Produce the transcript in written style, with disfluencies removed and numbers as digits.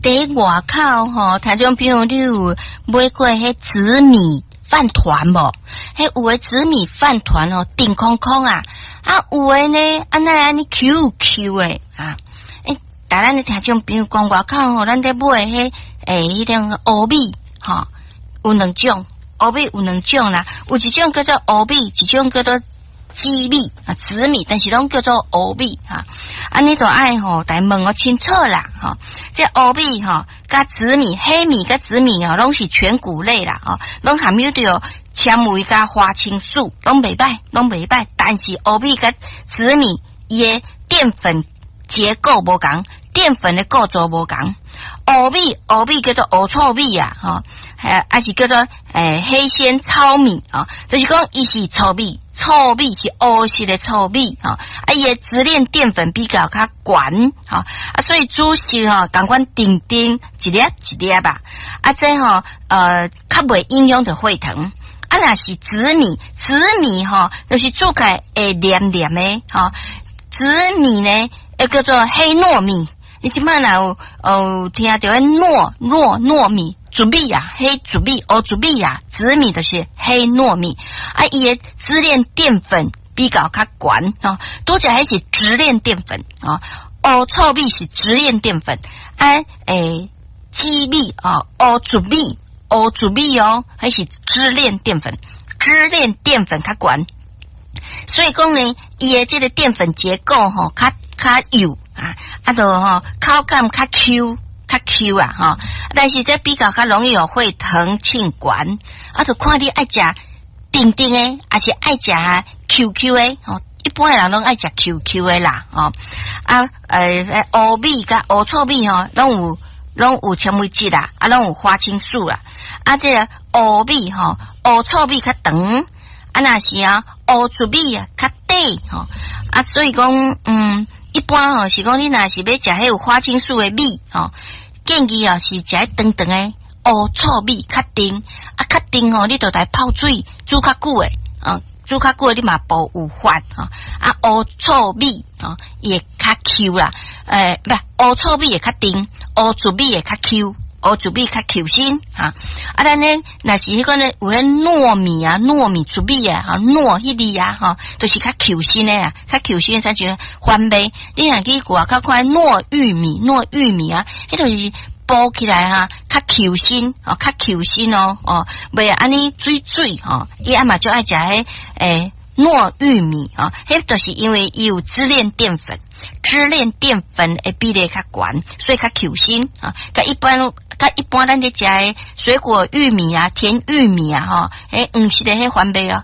佇外口吼，聽眾朋友，你有買過彼紫米飯糰無？彼有的紫米飯糰哦，甜空空啊，啊有的呢，啊哪會按呢 Q Q 的啊？欸，逐咱的聽眾朋友講外口吼，咱佇買彼欸，彼種烏米吼，有兩種，烏米有兩種啦，有一種叫做烏米，一種叫做紫米啊，紫米，但是攏叫做烏米哈。啊，你著愛吼，來問予清楚啦，吼。這烏米吼，佮紫米、黑米佮紫米哦，攏是全穀類啦，吼，攏含有著纖維佮花青素，攏袂䆀，攏袂䆀。但是烏米佮紫米，伊的澱粉結構無仝，澱粉的構造無仝。烏米，烏米叫做烏糙米啊，吼，還是叫做黑鮮糙米啊，就是講伊是糙米，糙米是烏色的糙米吼，啊，伊的直鏈澱粉比較較懸，吼，啊，所以煮熟吼，仝款甜甜一粒一粒吧，啊，這吼較袂影響著血糖。啊，若是紫米，紫米吼，就是煮起來會黏黏的，吼，紫米呢，會叫做黑糯米。你這擺若有聽著彼糯米、糯米啊，黑糯米、烏糯米啊，紫米就是黑糯米啊，伊的支鏈澱粉比較較懸吼，拄才彼是直鏈澱粉哦，烏糙米是直鏈澱粉，啊欸，紫米哦，烏糯米、烏糯米哦，彼是支鏈澱粉，支鏈澱粉較懸，所以講呢，伊的這个澱粉結構吼，較較幼啊，啊，著吼口感較 Q 較 Q 啊吼，但是這比較較容易予血糖升懸，啊，著看你愛食甜甜的，抑是愛食 Q Q 的吼。一般的人攏愛食 Q Q 的啦，吼啊，烏米佮烏糙米吼，攏有纖維質啦，啊，攏有花青素啦，啊，這个烏米吼，烏糙米較長，啊，若是啊烏糯米啊較短吼，啊，所以講，一般吼是講你若是欲食彼有花青素的米吼，建議啊是食彼長長的烏糙米較甜，啊較甜吼，你著來泡水煮較久的，啊煮較久的你嘛無有法吼，啊烏糙米吼伊會較 Q 啦，欸，毋烏糙米會較甜，烏糯米會較 Q。烏糯米較 Q 身哈，啊，咱呢，若是彼個呢，有彼糯米啊，糯米糯米啊，哈，糯彼粒啊，吼，就是較 Q 身的啊，較 Q 身才像番麥。你若去外口看糯玉米，糯玉米啊，彼就是煲起來哈，較 Q 身哦，較 Q 身哦，哦，袂按呢水水吼，伊啊嘛就愛食彼欸糯玉米啊，彼就是因為伊有支鏈澱粉。支鏈澱粉的比例較懸，所以較 Q 身啊。佮一般咱咧食的水果玉米啊、甜玉米啊，吼，彼黃色的彼番麥哦。